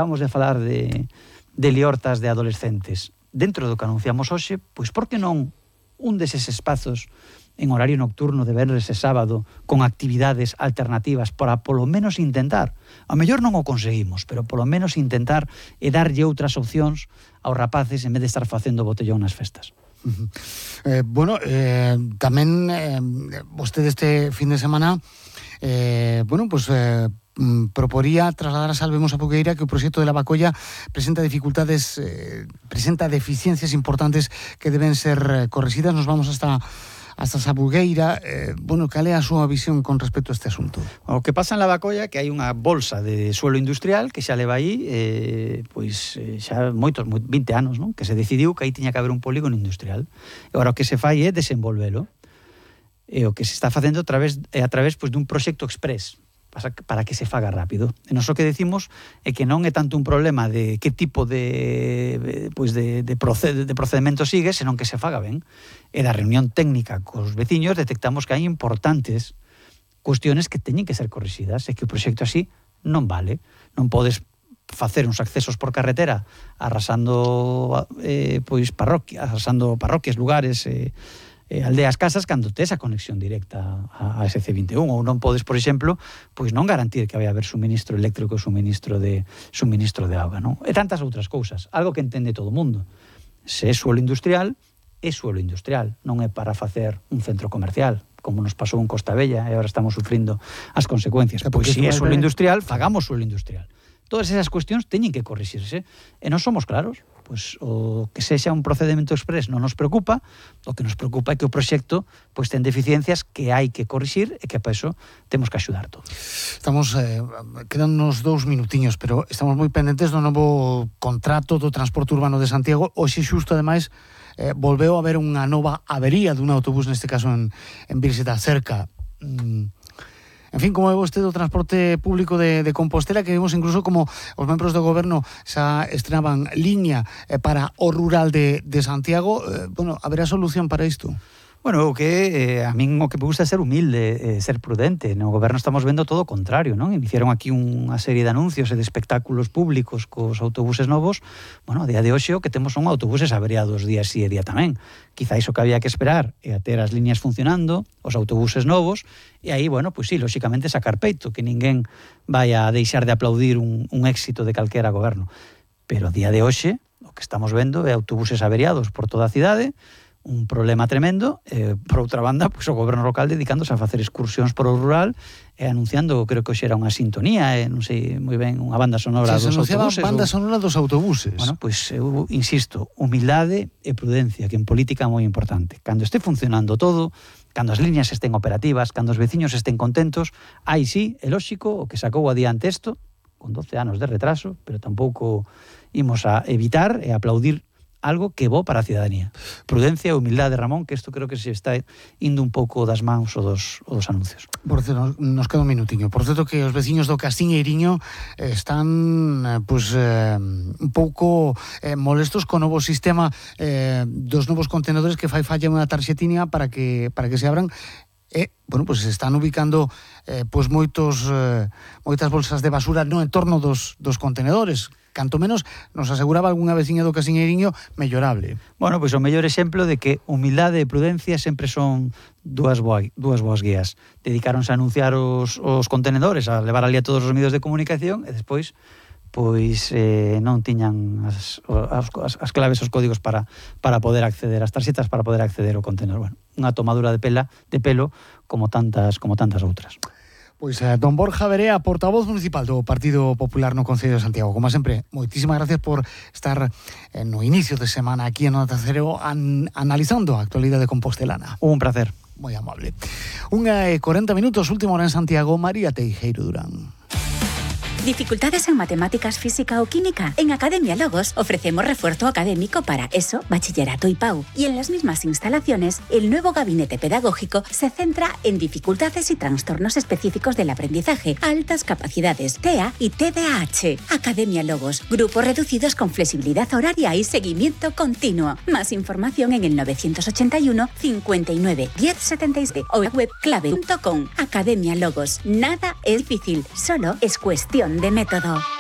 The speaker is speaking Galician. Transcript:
Vamos a falar de liortas de adolescentes. Dentro do que anunciamos hoxe, pois por que non un deses espazos en horario nocturno de venres e sábado con actividades alternativas para polo menos intentar, a mellor non o conseguimos, pero polo menos intentar e darlle outras opcións aos rapaces en vez de estar facendo botellón nas festas. Tamén vostede este fin de semana proporía trasladar a Salvemos a Poqueira que o proxecto de Lavacolla presenta deficiencias importantes que deben ser correxidas. Nos vamos hasta Sabugueira. Cal é a súa visión con respecto a este asunto? O que pasa en Lavacolla que hai unha bolsa de suelo industrial que xa leva aí xa 20 anos, non? Que se decidiu que aí tiña que haber un polígono industrial. E agora o que se fai é desenvolvelo. E o que se está facendo a través dun proxecto express para que se faga rápido. E nós o que decimos é que non é tanto un problema de que tipo de procedimento sigue, senón que se faga ben. E da reunión técnica cos veciños detectamos que hai importantes cuestiones que teñen que ser corrixidas e que o proxecto así non vale. Non podes facer uns accesos por carretera arrasando parroquias, lugares, aldeas, casas, cando tes a conexión directa a SC21, ou non podes, por exemplo, pois non garantir que vai haber suministro eléctrico e suministro de auga, non? E tantas outras cousas, algo que entende todo o mundo. Se é suelo industrial, é suelo industrial, non é para facer un centro comercial, como nos pasou en Costa Bella, e agora estamos sufrindo as consecuencias. Pois se é suelo industrial, fagamos suelo industrial. Todas esas cuestións teñen que corrixirse, e non somos claros. Pois o que sexa un procedimento express non nos preocupa, o que nos preocupa é que o proxecto pois ten deficiencias que hai que corrixir e que para iso temos que axudar todos. Estamos, quedan uns 2 minutiños, pero estamos moi pendentes do novo contrato do transporte urbano de Santiago. Hoxe xusto, ademais, volveu a haber unha nova avería dun autobús, neste caso en Virxe da Cerca. En fin, como é vostede o transporte público de Compostela, que vimos incluso como os membros do goberno xa estrenaban liña para o rural de Santiago. Haberá solución para isto? Bueno, o que a min o que me gusta é ser humilde, ser prudente. No goberno estamos vendo todo o contrario, non? Iniciaron aquí unha serie de anuncios e de espectáculos públicos cos autobuses novos. Bueno, a día de hoxe o que temos son autobuses averiados día sí e día tamén. Quizá iso que había que esperar é a ter as liñas funcionando, os autobuses novos, e aí, bueno, pois sí, lóxicamente sacar peito, que ninguén vai a deixar de aplaudir un éxito de calquera goberno. Pero a día de hoxe o que estamos vendo é autobuses averiados por toda a cidade, un problema tremendo. Por outra banda, pois o goberno local dedicándose a facer excursións por o rural e anunciando, creo que hoxe era unha sintonía, non sei moi ben, unha banda sonora dos autobuses. Banda sonora dos autobuses. Bueno, pois eu insisto, humildade e prudencia, que en política é moi importante. Cando este funcionando todo, cando as liñas estén operativas, cando os veciños estén contentos, aí sí, é lóxico o que sacou adiante isto, con 12 anos de retraso, pero tampouco imos a evitar e aplaudir algo que é bo para a cidadanía. Prudencia e humildade, Ramón, que isto creo que se está indo un pouco das mans o dos anuncios. Por certo, nos queda un minutiño. Por certo que os veciños do Castiñeiriño están un pouco molestos co novo sistema dos novos contenedores que fai falla unha tarxetiña para que se abran. Pois se están ubicando moitas bolsas de basura no entorno dos contenedores. Canto menos nos aseguraba algunha veciña do Casiñeiriño mellorable. Bueno, pois o mellor exemplo de que humildade e prudencia sempre son dúas boas guías. Dedicáronse a anunciar os contenedores, a levar ali a todos os medios de comunicación e despois non tiñan as claves, os códigos para poder acceder, as tarxetas para poder acceder ao contenedor. Bueno, unha tomadura de pelo como tantas outras. Pois don Borja Verea, portavoz municipal do Partido Popular no Concello de Santiago. Como sempre, moitísimas gracias por estar no inicio de semana aquí en Onda Cero analizando a actualidade compostelana. Un placer. Moi amable. 1:40 minutos, última hora en Santiago. María Teijeiro Durán. ¿Dificultades en matemáticas, física o química? En Academia Logos ofrecemos refuerzo académico para ESO, bachillerato y PAU. Y en las mismas instalaciones, el nuevo gabinete pedagógico se centra en dificultades y trastornos específicos del aprendizaje, altas capacidades, TEA y TDAH. Academia Logos, grupos reducidos con flexibilidad horaria y seguimiento continuo. Más información en el 981 59 10 76 o en web clave.com. Academia Logos. Nada es difícil, solo es cuestión de método.